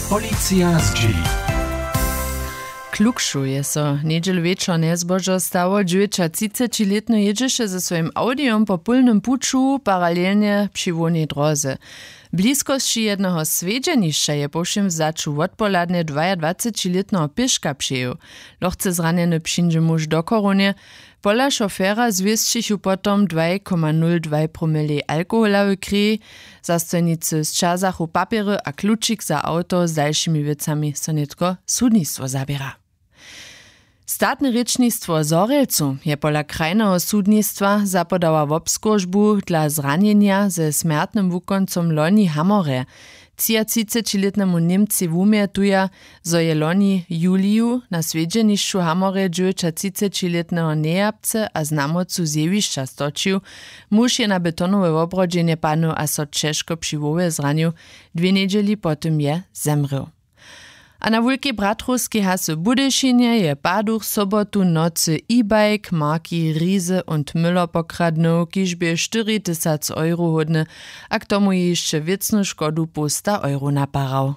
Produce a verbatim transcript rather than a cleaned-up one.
Policija zdźěli. Klukšu je so njedźelu wječor njezbožo stało. Dźewjećatřicećilětny jědźeše ze swojim awdijom po pólnym puću paralelnje při hłownej dróze. W bliskosći jedneho swjedźenišća je po wšěm wzaću wotpohladnje dwajadwacećilětneho pěška přejěł. Lochce zranjeny přińdźe muž do chorownje. Pola šofera zwěsćichu potom dwaj koma nul dwaj promilej alkohola w kreji. Zastojnicy sćazachu papjery a klučik za awto. Z dalšimi wěcami so nětko sudnistwo zaběra. Statne rěčnistwo w zhorjelcu je pola krajneho sudnistwa zapodała wobskóržbu dla zranjenja ze smjertnym wukóncom loni w hamorje. Třiatřicećilětnemu němcej wumjetuja, zo je loni w juliju na swjedźenišću w hamorje dźewjećatřicećilětneho njejapce a znamocu z jewišća stočił. Muž je na betonowe wobrodźenje padnył a so ćežko při hłowje zranił. Dwě njedźeli po tym je zemrěł. A na wulkej bratrowskej hasy w budyšinje je paduch sobotu w nocy e-bike marki Riese und Müller pokradnył, kiž bě štyri tysac euro hódny, a k tomu je hišće wěcnu škodu połsta euro naparał.